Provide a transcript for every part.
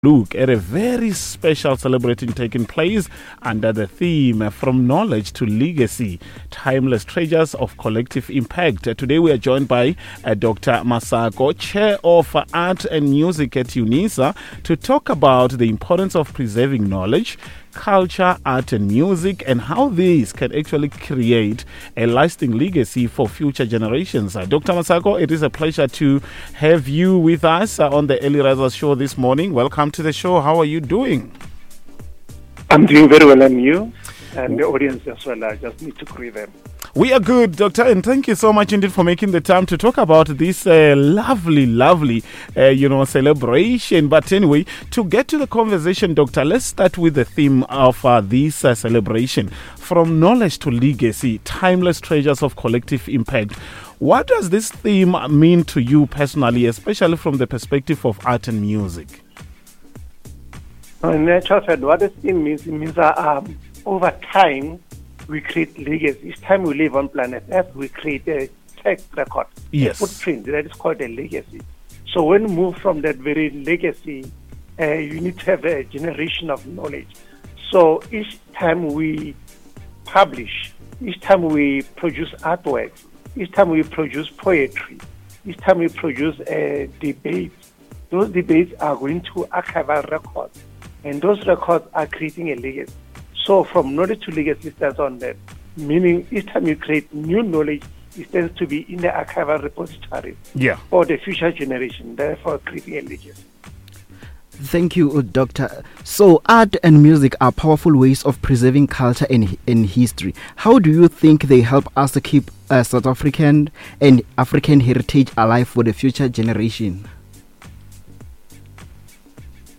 Look at a very special celebration taking place under the theme From Knowledge to Legacy, Timeless Treasures of Collective Impact. Today we are joined by Dr. Masako, Chair of Art and Music at UNISA, to talk about the importance of preserving knowledge, culture, art, and music, and how these can actually create a lasting legacy for future generations. Dr. Masako, it is a pleasure to have you with us on the Early Risers Show this morning. Welcome to the show. How are you doing? I'm doing very well, and you? And the audience as well. I just need to greet them. We are good, Doctor, and thank you so much indeed for making the time to talk about this lovely, lovely, celebration. But anyway, to get to the conversation, Doctor, let's start with the theme of this celebration, From Knowledge to Legacy, Timeless Treasures of Collective Impact. What does this theme mean to you personally, especially from the perspective of art and music? In actual fact, what this theme means, it means that over time, we create legacy. Each time we live on planet Earth, we create a track record, a footprint that is called a legacy. So when you move from that very legacy, you need to have a generation of knowledge. So each time we publish, each time we produce artworks, each time we produce poetry, each time we produce a debate, those debates are going to archival records, and those records are creating a legacy. So from knowledge to legacy stands on that, meaning each time you create new knowledge, it stands to be in the archival repository for the future generation, therefore creating a legacy. Thank you, Doctor. So art and music are powerful ways of preserving culture and history. How do you think they help us to keep South African and African heritage alive for the future generation?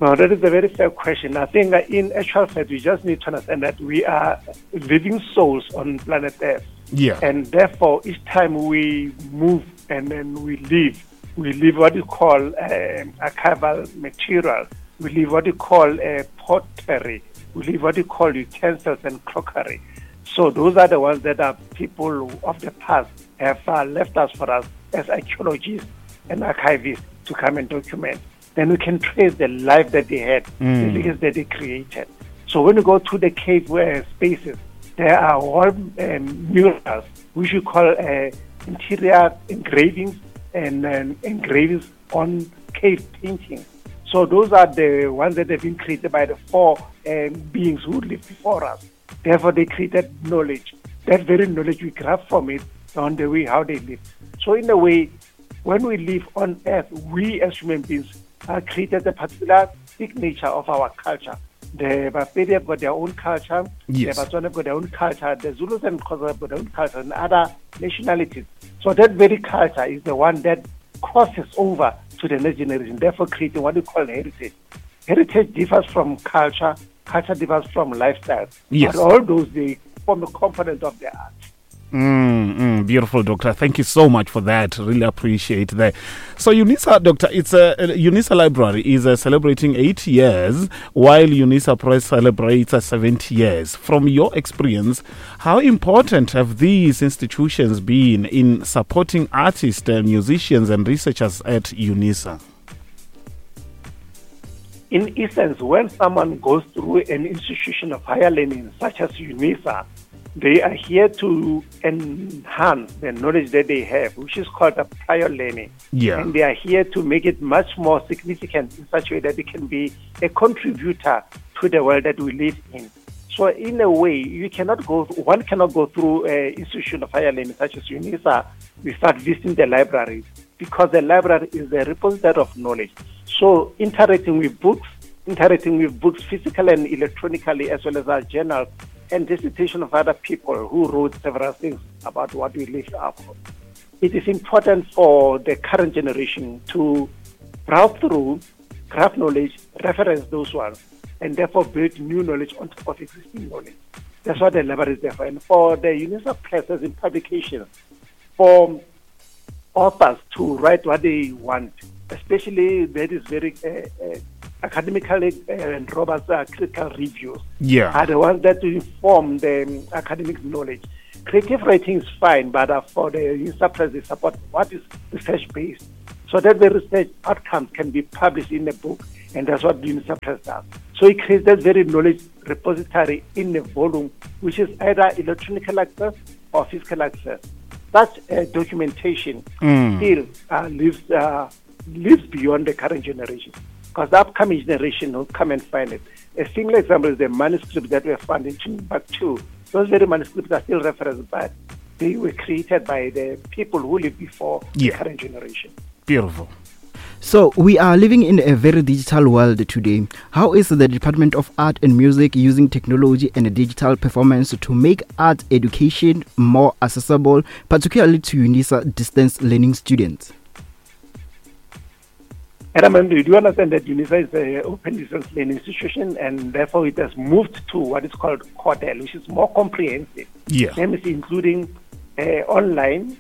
Now, that is a very fair question. I think that in actual fact, we just need to understand that we are living souls on planet Earth. And therefore, each time we move and then we leave what you call archival material. We leave what you call pottery. We leave what you call utensils and crockery. So those are the ones that are people of the past have left us for us as archaeologists and archivists to come and document. Then we can trace the life that they had, the legacy that they created. So when you go to the cave where spaces, there are all murals, which you call interior engravings and engravings on cave paintings. So those are the ones that have been created by the four beings who lived before us. Therefore, they created knowledge. That very knowledge we grab from it on the way how they live. So in a way, when we live on Earth, we as human beings are created a particular signature of our culture. The Bapedi have got their own culture, the Batswana have got their own culture, the Zulus and Xhosa have got their own culture, and other nationalities. So that very culture is the one that crosses over to the next generation, therefore creating what we call heritage. Heritage differs from culture, culture differs from lifestyle. But all those, they form a component of the art. Beautiful, Doctor. Thank you so much for that. Really appreciate that. So UNISA, Doctor, it's a UNISA Library is celebrating 8 years, while UNISA Press celebrates 70 years. From your experience, how important have these institutions been in supporting artists, musicians, and researchers at UNISA? In essence, when someone goes through an institution of higher learning, such as UNISA, they are here to enhance the knowledge that they have, which is called a prior learning. And they are here to make it much more significant in such a way that they can be a contributor to the world that we live in. So in a way, you cannot go, one cannot go through an institution of higher learning such as UNISA without visiting the library, because the library is the repository of knowledge. So interacting with books physically and electronically, as well as our journals, and dissertation of other people who wrote several things about what we live up. It is important for the current generation to browse through, grab knowledge, reference those ones, and therefore build new knowledge on top of existing knowledge. That's what the library is there for. And for the UNISA Press in publication, for authors to write what they want, especially that is very academically and robust critical reviews are the ones that inform the academic knowledge. Creative writing is fine, but for the UNISA Press, they support what is research-based, so that the research outcomes can be published in a book And that's what UNISA Press does. So it creates that very knowledge repository in a volume, which is either electronic access or physical access. Such documentation still lives beyond the current generation, because the upcoming generation will come and find it. A single example is the manuscripts that were found in Timbuktu. Those very manuscripts are still referenced, but they were created by the people who lived before the current generation. Beautiful. So we are living in a very digital world today. How is the Department of Art and Music using technology and digital performance to make art education more accessible, particularly to UNISA distance learning students? Adam, do you understand that UNISA is an open distance learning institution, and therefore it has moved to what is called CODEL, which is more comprehensive. That is including online,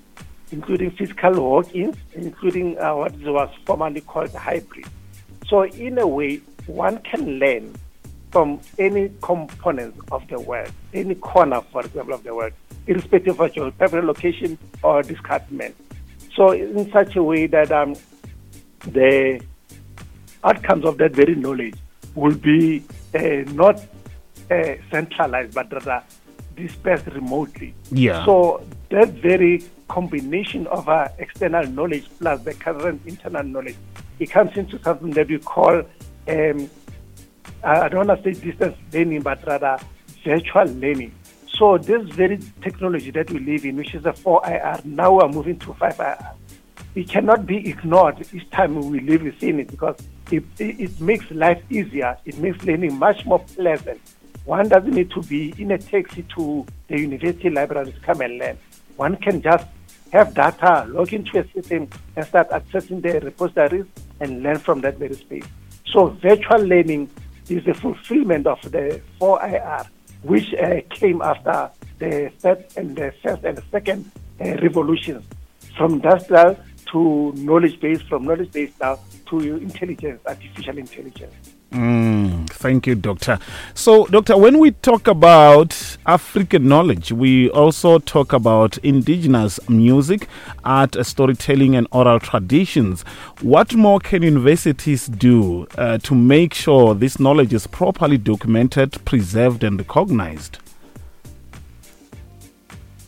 including physical walk-ins, including what was formerly called hybrid. So in a way, one can learn from any component of the world, any corner, for example, of the world, irrespective of your geographical location or department. So in such a way that the outcomes of that very knowledge will be not centralized, but rather dispersed remotely. So that very combination of our external knowledge plus the current internal knowledge, it comes into something that we call, I don't want to say distance learning, but rather virtual learning. So this very technology that we live in, which is the 4IR, now we are moving to 5IR. It cannot be ignored each time we live within it, because it makes life easier. It makes learning much more pleasant. One doesn't need to be in a taxi to the university library to come and learn. One can just have data, log into a system, and start accessing the repositories and learn from that very space. So virtual learning is the fulfillment of the 4IR, which came after the third and the first and the second revolutions, from industrial to knowledge-based, from knowledge-based now to intelligence, artificial intelligence. Thank you, Doctor. So, Doctor, when we talk about African knowledge, we also talk about indigenous music, art, storytelling, and oral traditions. What more can universities do to make sure this knowledge is properly documented, preserved, and recognized?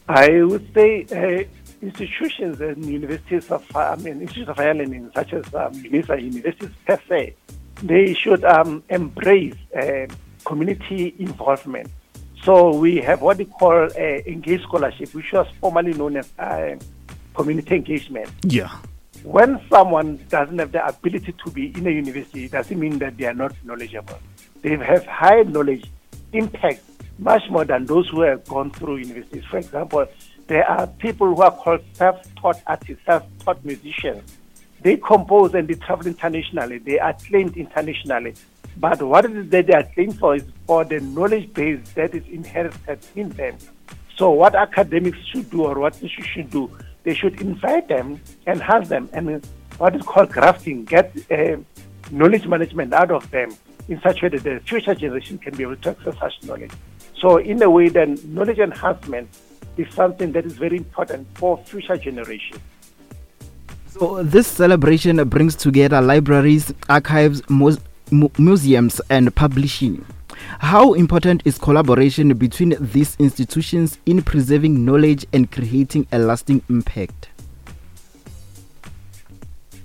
I would say institutions and universities of, I mean, institutions of higher learning, such as UNISA, universities per se, they should embrace community involvement. So we have what we call engaged scholarship, which was formerly known as community engagement. When someone doesn't have the ability to be in a university, it doesn't mean that they are not knowledgeable. They have high knowledge impact much more than those who have gone through universities. For example, there are people who are called self-taught artists, self-taught musicians. They compose and they travel internationally. They are acclaimed internationally. But what it is that they are acclaimed for is for the knowledge base that is inherited in them. So what academics should do, or what institutions should do, they should invite them, enhance them, and what is called grafting, get knowledge management out of them in such a way that the future generation can be able to access such knowledge. So in a way, then, knowledge enhancement is something that is very important for future generations. So this celebration brings together libraries, archives, museums, and publishing. How important is collaboration between these institutions in preserving knowledge and creating a lasting impact?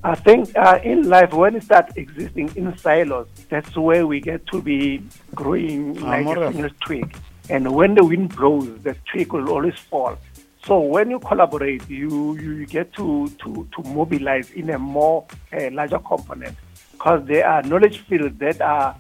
I think in life, when it starts existing in silos, that's where we get to be growing like a single twig. And when the wind blows, the twig will always fall. So when you collaborate, you get to mobilize in a more larger component, because there are knowledge fields that are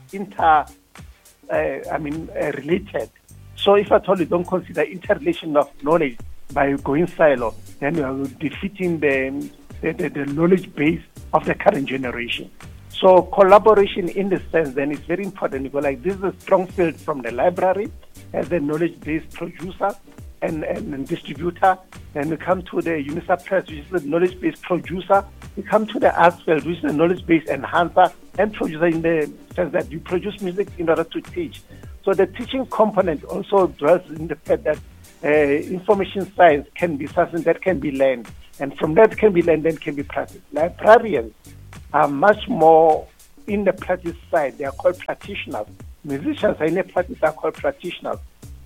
related. So if at all you don't consider interrelation of knowledge by going silo, then you are defeating the knowledge base of the current generation. So collaboration in the sense then is very important, because this is a strong field from the library as a knowledge-based producer and distributor. Then we come to the UNISA Press, which is the knowledge-based producer. We come to the arts field, which is the knowledge-based enhancer and producer, in the sense that you produce music in order to teach. So the teaching component also dwells in the fact that information science can be something that can be learned. And from that can be learned and can be practiced. Librarians are much more in the practice side, they are called practitioners. Musicians are in a practice are called practitioners.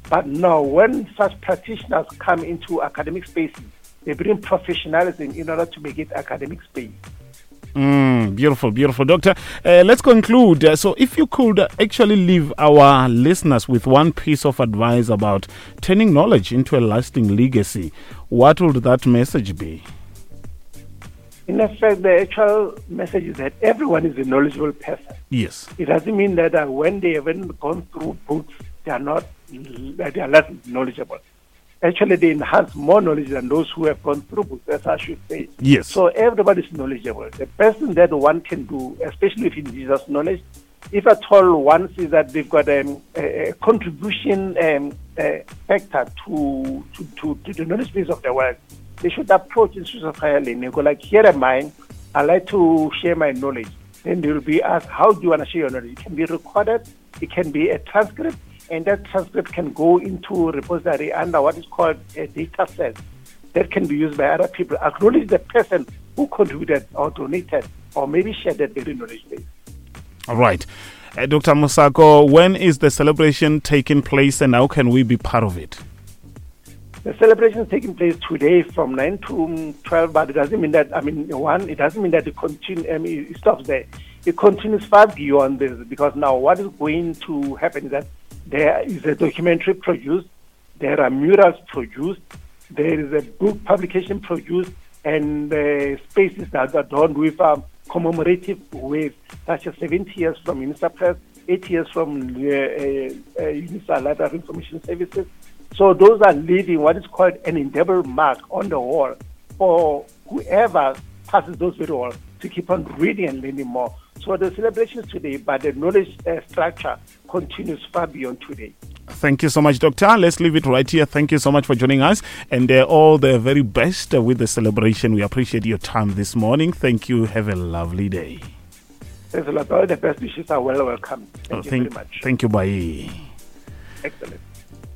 But now, when such practitioners come into academic spaces, they bring professionalism in order to make it academic space. Beautiful, beautiful. Doctor, let's conclude. So if you could actually leave our listeners with one piece of advice about turning knowledge into a lasting legacy, what would that message be? In effect, the actual message is that everyone is a knowledgeable person. Yes. It doesn't mean that when they haven't gone through books, they are not, they are less knowledgeable. Actually, they enhance more knowledge than those who have gone through books, as I should say. Yes. So everybody's knowledgeable. The best thing that one can do, especially with indigenous knowledge, if at all one sees that they've got a contribution factor to the knowledge base of the world, they should approach institutions of higher learning. Go like, here am I, I like to share my knowledge. Then they will be asked, how do you want to share your knowledge? It can be recorded, it can be a transcript, and that transcript can go into repository under what is called a data set that can be used by other people. Acknowledge the person who contributed or donated or maybe shared that very knowledge base. All right. Doctor Mosako, when is the celebration taking place and how can we be part of it? The celebration is taking place today from 9 to 12, but it doesn't mean that, I mean, one, it doesn't mean that it continue, I mean, it stops there. It continues far beyond this, because now what is going to happen is that there is a documentary produced, there are murals produced, there is a book publication produced, and the spaces that are done with commemorative ways, such as 70 years from UNISA Press, 8 years from UNISA Library of Information Services. So those are leaving what is called an indelible mark on the wall for whoever passes those very walls to keep on reading and learning more. So the celebration is today, but the knowledge structure continues far beyond today. Thank you so much, Doctor. Let's leave it right here. Thank you so much for joining us, and all the very best with the celebration. We appreciate your time this morning. Thank you. Have a lovely day. Thanks a lot. All the best wishes are well welcome. Thank you very much. Thank you. Bye. Excellent.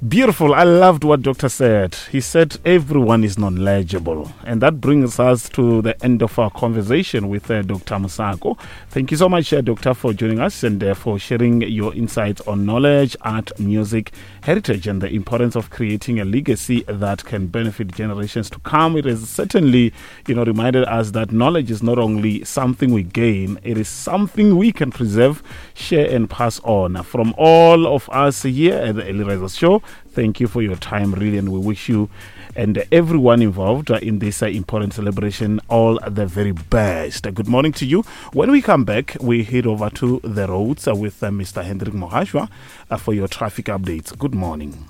Beautiful. I loved what Doctor said. He said everyone is knowledgeable. And that brings us to the end of our conversation with Doctor Mosako. Thank you so much, Doctor, for joining us and for sharing your insights on knowledge, art, music, heritage, and the importance of creating a legacy that can benefit generations to come. It has certainly, reminded us that knowledge is not only something we gain, it is something we can preserve, share, and pass on. From all of us here at the Early Risers Show, thank you for your time, really, and we wish you and everyone involved in this important celebration all the very best. Good morning to you. When we come back, we head over to the roads with Mr. Hendrik Mohashwa for your traffic updates. Good morning.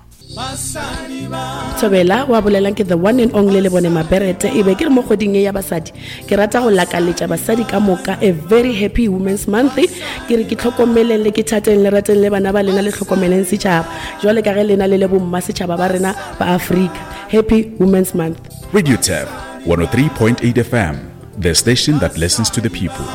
Thobela wa bolelang ke the one and only le bone Maberete e be ke re mo kgweding e ya basadi ke rata go lakaletša basadi ka moka a very happy women's month. Ke re ke tlhokomeleng le ke thateng le rateng le bana ba lena le tlhokomeleng setšhaba jwale ka ge lena le le bomma setšhaba ba rena ba Afrika. Happy Women's Month. Radio Tab 103.8 FM, the station that listens to the people.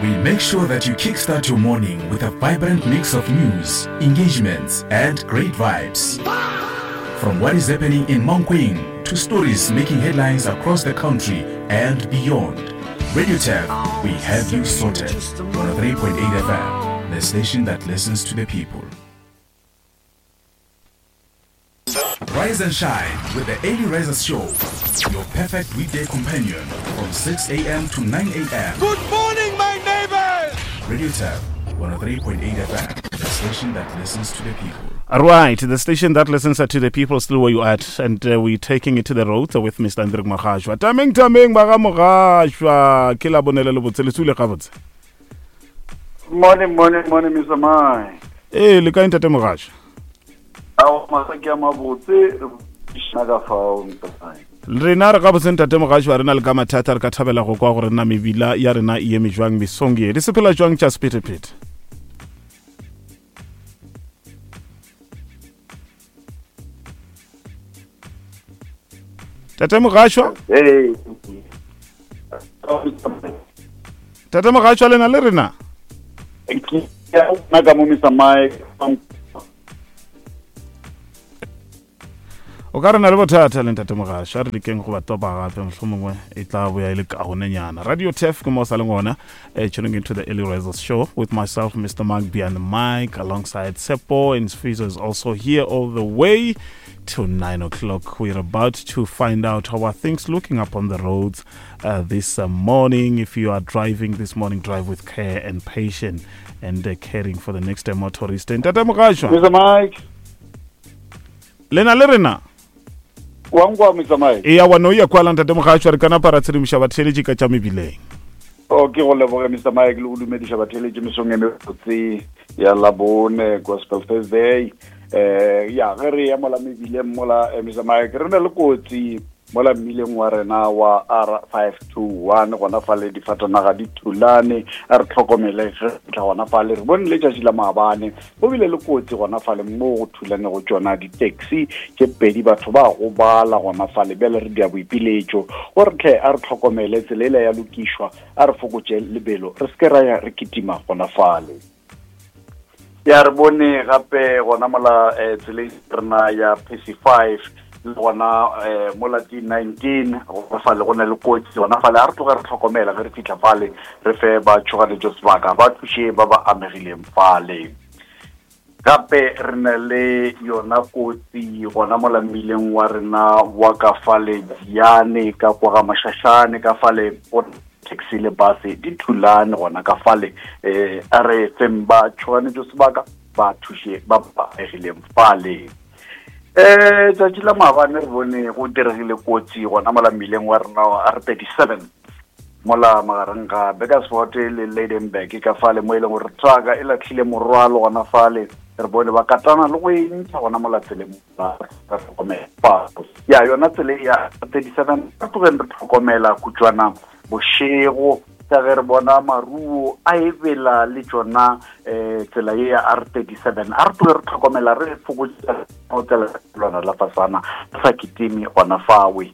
We make sure that you kickstart your morning with a vibrant mix of news, engagements, and great vibes. From what is happening in Mankweng to stories making headlines across the country and beyond. Radio Tab, we have you sorted. 103.8 FM, the station that listens to the people. Rise and shine with the Early Risers Show, your perfect weekday companion from 6 a.m. to 9 a.m. Good morning, my neighbors! Radio Tab, 103.8 FM, the station that listens to the people. All right, the station that listens to the people, still where you at, and we're taking it to the road with Mr. Hendrik Mohashwa. Tameng, tameng, baga Mohashwa. Ke la bonele le botse, le tsule gabotse. Morning, morning, morning, Mr. Mai. Le kae ntate Mohashwa? Ao, masaki a mabotse, re buisana ka fao, Mr. Mai. Rena re gabotse ntate Mohashwa, re na le ka mathata, re ka thabela go kwa gore na mebila ya rena e eme jwang mesong ye. Di sepela jwang tša sephethephethe? Tate Mohashwa? Hey. Tate Mohashwa, le na le rena? Ke nna ka mo Mr. Mike. O ka re na le bothata le ntate Mogasho, a re lekeng go ba topa gape, mohlomongwe e tla boya e le kaonenyana. Radio Tef ke mo o sa leng gona, tuning into the Early Risers Show with myself, Mr. Mark Bian Mike, alongside Tsepo and Sfiso is also here all the way to 9 o'clock. We're about to find out how are things looking up on the roads this morning. If you are driving this morning, drive with care and patience and caring for the next motorist. Ntate Mogasho. Mr. Mike. Le na le rena? Wa nkwa, Mr. Mike? Eya, wa no ya kwala ntate Mogasho, re kana para tshedimoša batheeletši ka tša mebileng. O ke go leboge Mr. Mike le go dumediša batheeletši mesong e mebotse ya Labone, Gospel Thursday. Ya ge re ya mola mebileng mola, Mr. Mike, re na le kotsi mola mmileng wa rena wa R521 gona fale, difatanaga di thulane. A re tlhokomele ge tla gona fale. Re bone letšatši la maabane go bile le kotsi gona fale mo go thulane go tšona di-taxi tše pedi, batho ba gobala gona fale. Bjale re dia boipiletšo gore tlhe a re tlhokomele, tsela ela ya lokišwa, a re fokotše lebelo, re se ke ra ya re kitima gona fale. Ya re bone gape gona mola tseleng rena ya PC5 le gona mola D19 gona fale go na le kotsi gona fale. A re tloge re tlhokomela ge re fitlha fale, re fe ba tšhoganetšo sebaka, ba thuše ba ba amegileng fale. Gape re na le yona kotsi gona mola mmileng wa rena wa ka fale Diane ka kwa ga Mashashane ka fale, go taxi le bus di thulane gona ka fale. A re feng ba tšhoganetšo sebaka, ba thuše ba ba amegileng fale. Tšatši la maabane re bone go diregile kotsi gona mola mmileng wa rena wa R37 mola magareng ga Burgersfort le Lydenburg ka fale, mo e leng gore trucka e latlhile morwalo gona fale. Re bone ba katana le go e ntšha gona mola tseleng, ba tlhokomela ya yona tsela ya 37. Re tlogeng re tlhokomela kutšwana bošego ka ge re bona maruo a e bela le tšona tsela ye ya R37. A re tloge re tlhokomela, re fokotša tsela lona la fasana, re sa kitime gona fawe.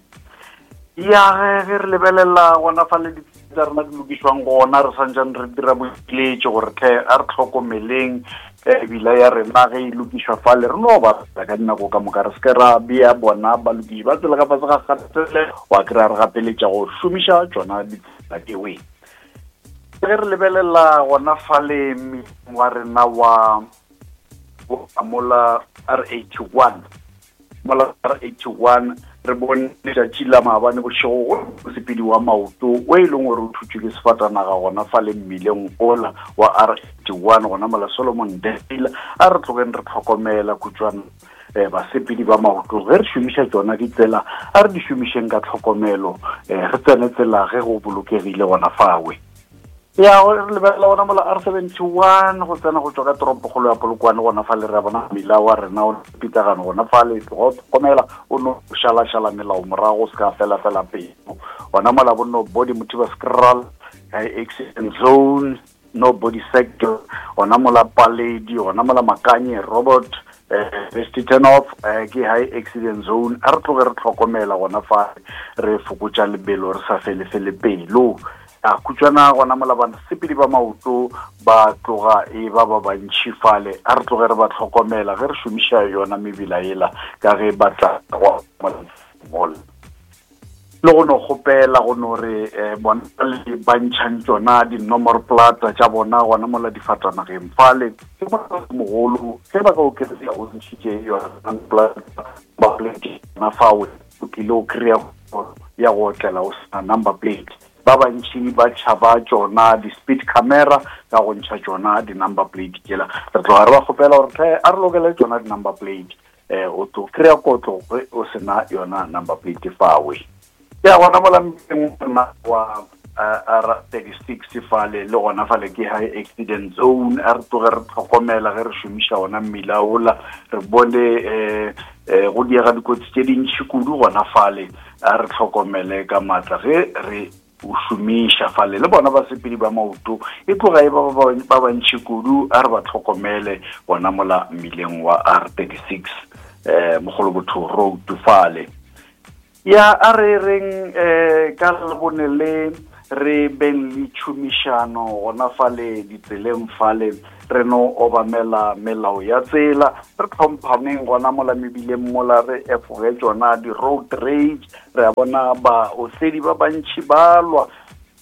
Ya ge re lebelela gona fa le tsa rena di lokišwang gona, re santsane re dira boipiletšo gore tlhe a re tlhokomeleng ebila ya rena ge e lokišwa fale, re no ba ka dinako ka moka, re se ke ra bea bona balokiši ba tsela ka fase ga kgatele, wa kry-a re gapeletša go šomiša tšona ditsela tšewe. Ge re lebelela gona fale wa rena wa mola R81, mola R81, re bone letšatši la maabane bošego go mosepedi wa maoto o e leng gore o thutšwe ke sefatanaga gona fale mmileng ola wa R81 gona mola Solomon Dale. A re tlogeng re tlhokomela kutšwana basepedi ba maoto ge re šomiša tšona ditsela, a re di šomišeng ka tlhokomelo, re tsene tsela ge go bolokegile gona fawe. Ya re lebelela gona mola R71 go tsena go tswa ka toropokgolo ya Polokwane gona fale, re a bona mmila wa rena o pitlagano gona fale. Tloga o tlhokomela, o no šalašala melao morago, o se ka fela fela pelo gona mola bo no body Mothiba Scral high accident zone, no body sector gona mola Paledi gona mola Makanye Robert Vesti turn off, ke high accident zone. A re tloge re tlhokomela gona fa, re fokotša lebelo, re sa fele fele pelo. A khutšwana gona mola basepedi ba maoto ba tloga e ba ba bantšhi fale, a re tloge re ba tlhokomela ge re šomiša yona mebila ela ka ge ba tla go mola. Le go no kgopela go no re bona le ba ntšhang tšona dinomoro plata tša bona gona mola difatanageng fale, ke mogolo ge ba ka o kry-a o ntšhitše yona plata ba plate fao, o tlile o kry-a ya go otlela o sena number plate. Ba bantši ba tšhaba tšona di-speed camera ka go ntšha tšona di-number plate tšela. Re tloga re ba kgopela gore tlhe a re lokele tšona di-number plate, o tlo kry-a kotlo ge o sena yona number plate fawe. Ya gona mola mmileng rena wa R36 fale le gona fale ke high accident zone. A re tloge re tlhokomela ge re šomiša ona mmila ola, re bone go diega dikotsi tše dintšhi kudu gona fale. A re tlhokomele ka maatla ge re o šomiša fale, le bona basepedi ba maoto e tloga e ba bantšhi kudu, a re ba tlhokomele bona mola mmileng wa R36 Mogolobotho Road fale. Ya a re reng ka Labone le Re beng le tšhomišano gona fale ditseleng fale, re no obamela melao ya tsela, re tlhomphaneng gona mola mebileng mola, re efoge tšona di-road rage. Re a bona baosedi ba bantši ba lwa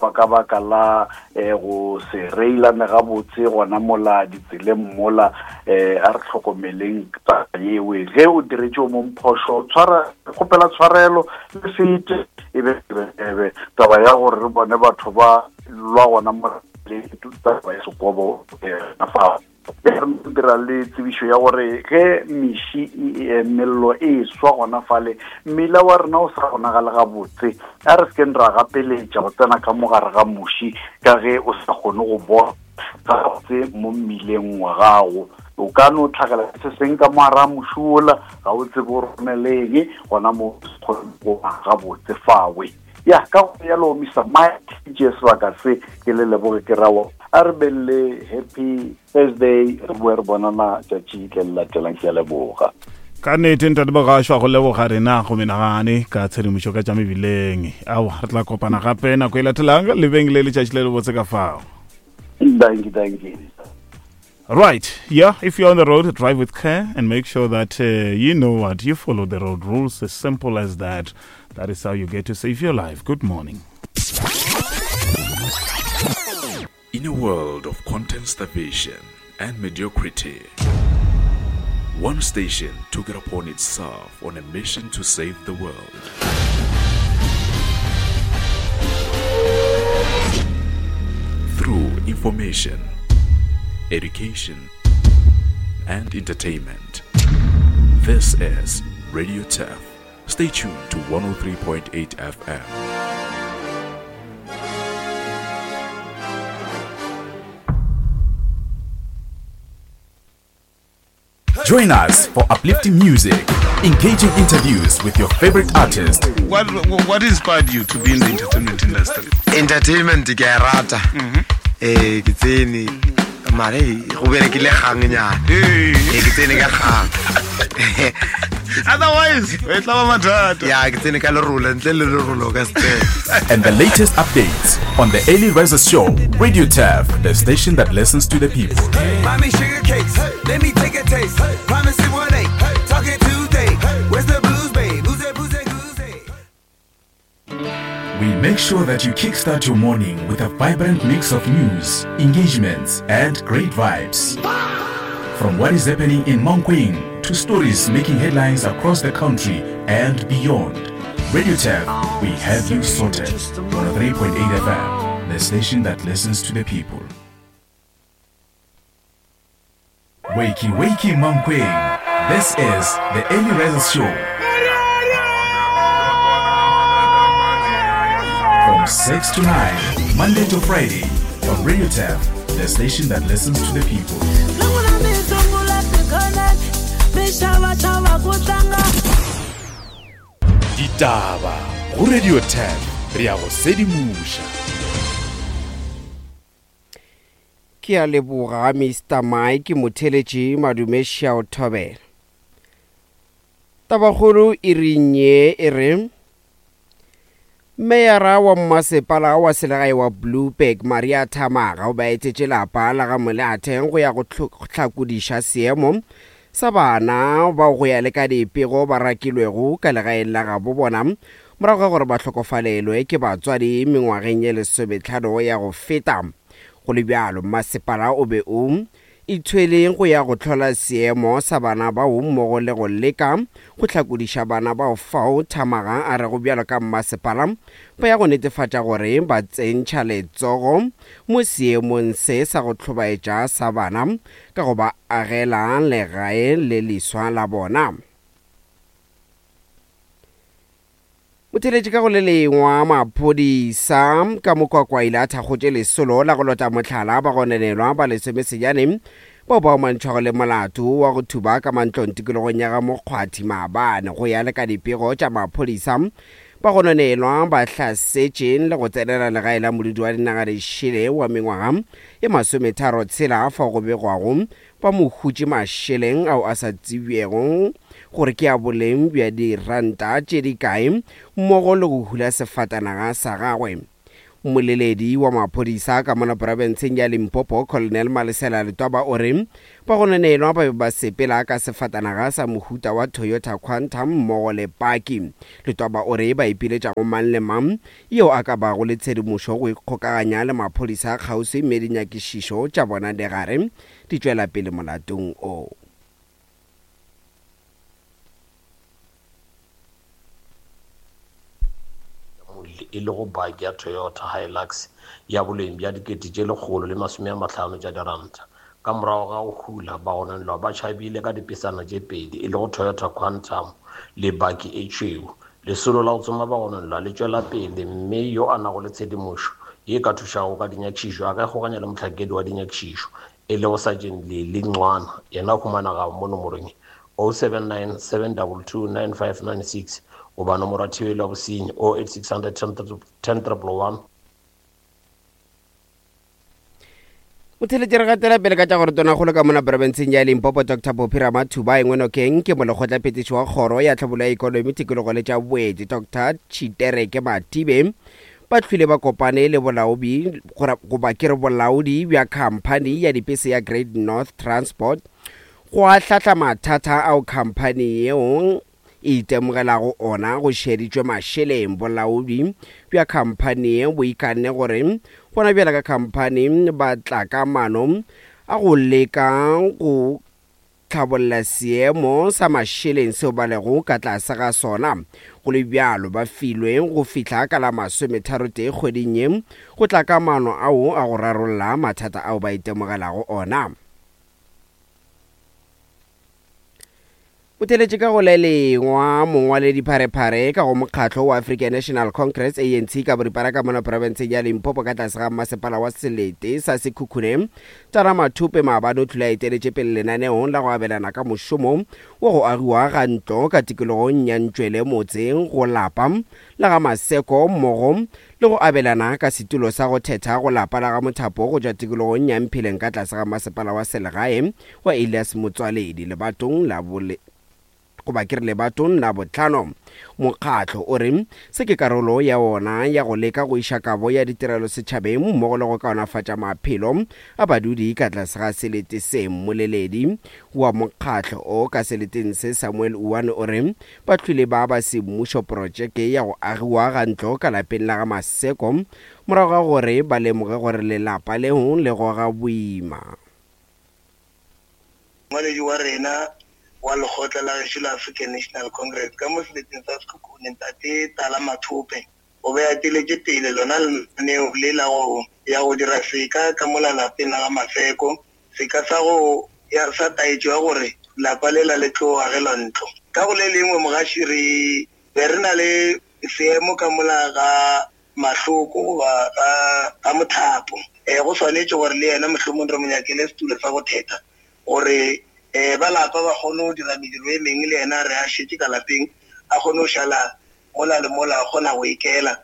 ba ka baka la eh, go se reilane gabotse gona mola ditseleng mola. A re hlokomeleng taba yewe. Ge o diretše o mong phošo, tshwara, kgopela tshwarelo le fete e be ebe taba ya gore re bone batho ba lwa gona mola le taba ya sekobo fa. Re dira le tsebišo ya gore ge meši mello e swa gona fale, mmila wa rena o sa bonagale gabotse, a re sekeng ra gapeletša go tsena ka mogare ga moši ka ge o sa kgone go bona gabotse mo mmileng wa gago. O ka no tlhagela se seng ka mogare ga moši ola, ga o tsebe o romeleng gona mo kgone go gabotse fawe. Ya ka go yalo Mr Mike, tše sebaka se ke le leboge, ke rawa a re beng le happy Thursday, re boe re bonana tšatši le le latelang. Ke a leboga. Ka nnete ntate Bogašwa, go leboga rena go menagane ka tshedimošo ka tša mebileng. Aowa, re tla kopana gape nako e latelang. Lebeng le letšatši le lebotse ka fao. Thank you, thank you. Right, yeah, if you're on the road, drive with care and make sure that you know what, you follow the road rules. As simple as that. That is how you get to save your life. Good morning. In a world of content starvation and mediocrity, one station took it upon itself on a mission to save the world. Through information, education, and entertainment. This is Radio Turf. Stay tuned to 103.8 FM. Join us for uplifting music, engaging interviews with your favorite artist. What inspired you to be in the entertainment industry? Entertainment ke a rata. Ke tsene mare go berekile gang nyana. Ke tsene ka gang. Otherwise, e tla ba mathata. Ya, ke tsene ka lerolo, ntle le lerolo ka se tsene. And the latest updates on the Early Risers Show, Radio Turf, the station that listens to the people. Mommy sugar cakes, let me take a taste. Promise it one eight, talking Tuesday. Where's the blues, babe? Who's that, who's that, who's that? We make sure that you kickstart your morning with a vibrant mix of news, engagements, and great vibes. From what is happening in Mankweng to stories making headlines across the country and beyond. Radio Turf, we have you sorted. 103.8 FM, the station that listens to the people. Wakey, wakey, Mankweng. This is the Early Risers Show. From 6 to 9, Monday to Friday, on Radio Turf, the station that listens to the people. Ditaba go Radio 10, re ya go sedimoša. Ke a leboga Mr Mike Motheletši Madume Shao Thobela. Tabakgolo e reng ye e re Meyara wa mmasepala wa selegae wa Blouberg Maria Thamaga o ba etetše lapa la ga Moleatheng go ya go hlakodiša seemo sa bana bao go ya le ka dipego ba rakilwego ka legaeng la gabo bona morago ga gore ba hlokofalelwe ke batswadi mengwageng ye lesometlhano ya go feta. Go le bjalo, mmasepala o be o ithwele go ya go hlola seemo sa bana bao mmogo le go leka go hlakodiša bana bao fao Thamaga a rego bjalo ka mmasepala ba ya go netefatša gore ba tsentšha letsogo mo seemong se sa go hlobaetša sa bana ka go ba agela legae le leswa la bona. Motheletši ka go le lengwa maphodisa ka mokwakwa ile a thakgotše lesolo la go lota mohlala ba gononelwa ba lesomesenyane bao ba omantšhwago le molato wa go thuba ka mantlong tikologong ya ga Mokgwathi maabane. Go ya le ka dipego tša maphodisa, ba gononelwa ba hlasetše le go tsenela legae la modudi wa dinaga dišele wa mengwaga ye 36 fao go begwago ba mo hutše mašeleng ao a sa tsebjego gore ke a boleng bja diranta tše di kae mmogo le go hula sefatanaga sa gagwe. Mmoleledi wa maphodisa ka mola profenseng ya Limpopo, Colonel Malesela Letwaba o re bagononelwa ba be ba sepela ka sefatanaga sa mohuta wa Toyota Quantum mmogo le paki. Letwaba o re ba ipiletša go mang le mang yo a ka bago le tshedimošo go ikgokaganya le maphodisa kgauswi mme dinyakišišo tša bona di gare di tšwela pele molatong o. E lego baki ya Toyota Hilux ya boleng bja 150 tša diranta. Ka morago ga go hula, bagononelwa ba tšhabile ka dipesana tše pedi, e lego Toyota Quantum le baki e tšhweu. Lesolo la go tsoma bagononelwa le tšwela pele mme yo a nago le tshedimošo ye e ka thušago ka dinyakišišo a ka ikgokanya le mohlankedi wa dinyakišišo, e lego Sergeant Lily Ncwana, yena o humanega mo nomorong ye, 079 722 9596 goba nomoro ya thibelo ya bosenyi, 08600 10 111. Motheletši re gatela pele ka tša gore tonakgolo ka mona profenseng ya Limpopo Dr Phophi Ramathuba engwe nokeng ke molekgotlaphethiši wa kgoro ya tlhabollo ya ikonomi tikologo le tša boeti Dr Tshitereke Mathibe ba hlwile ba kopane le bolaobi goba ke re bolaodi bja khamphani ya dipese ya Great North Transport go ahlahla mathata ao khamphani yeo e itemogelago ona go šeditšwe mašeleng. Bolaodi bja khamphani ye bo ikanne gore gona bjale ka khamphani ba tla ka mano a go leka go tlhabolla seemo sa mašeleng seo ba lego ka tlase ga sona. Go le bjalo, ba filwe go fihla ka la masometharotee kgweding ye go tla ka maano ao a go rarolla mathata ao ba itemogelago ona. O theletše ka go le lengwa mongwaledipharephare ka go mokgatlo wa African National Congress, ANC, ka boripana ka mono profenseng ya Limpopo ka tlase ga mmasepala wa selete sa Sekhukhune, Tara Mathope maabane o tlile a eteletše pele lenaneong la go abelana ka mošomo wa go agiwa ga ntlo ka tikologong ya Ntšwele motseng go lapa la ga Maseko mmogo le go abelana ka setulo sa go thetha go lapa la ga Mothapo go tšwa tikologong ya Mpheleng ka tlase ga masepala wa selegae wa Elias Motswaledi lebatong la bole goba ke re lebatong la botlhano. Mokgatlo o re se ke karolo ya wona ya go leka go iša kabo ya ditirelo setšhabeng mmogo le go kaonafatša maphelo a badudi ka tlase ga selete se. Mmoleledi wa mokgatlo o ka seleteng se Samuel Uwane o re ba hlwile ba ba semmušo protšeke ya go agiwa ga ntlo ka lapeng la ga Maseko morago ga gore ba lemoge gore lelapa leo le goga boima. Mongwaledi wa rena wa lekgotla la gešo la African National Congress ka mo seleteng sa Sekhukhune, Ntate Tala Mathope, o be a eteletše pele lona lenaneo le la go ya go dira seka ka mola lapeng la ga Maseko, seka sa go ya sa taetšo ya gore lapa lela le tlo agelwa ntlo. Ka go le lengwe, mogaši, re be re na le seemo ka mola ga mahloko goba ga, ga mothapo. E, go swanetše gore le yena mohlomong re mo nyakele setulo sa go thetha gore e, ba lapa ba kgone go dira mediro e mengwe le yena re a šetše ka lapeng a kgone go šala mola le mola a kgona go ikela.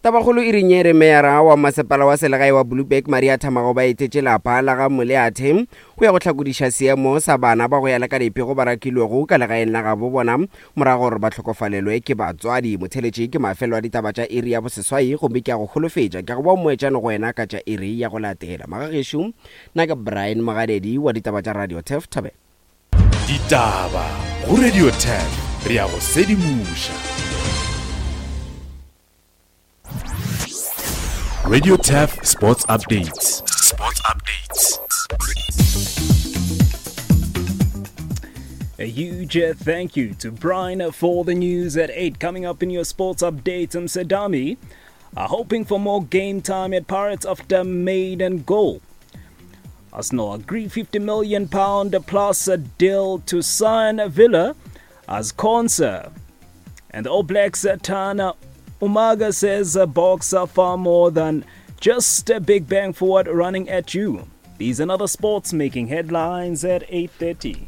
Tabakgolo e reng e re meyara wa masepala wa selegae wa Blouberg Maria Thamago ba etetše lapa la ga Moleathe go ya go hlakodiša seemo sa bana ba go ya le ka dipego ba rakilwego ka legaeng la gabo bona morago gore ba hlokofalelwe ke batswadi. Motheletši ke mafelelo a ditaba tša iri ya boseswai gomme ke a go holofetša ke a go ba mmoetšane go wena ka tša iri ya go latela. Magagešo, nna ke Brian Mogadedi wa ditaba tša Radio Turf Thabela. Ditaba go Radio Turf, re a go sedimoša. Radio Turf Sports Updates. Sports Updates. A huge thank you to Brian for the news at 8. Coming up in your sports update, Msadami are hoping for more game time at Pirates after maiden goal. Arsenal agree 50 million pound plus a deal to sign Villa as Konsa. And the All Blacks Tana Umaga says Boks are far more than just a big bang forward running at you. These and other sports making headlines at 8:30.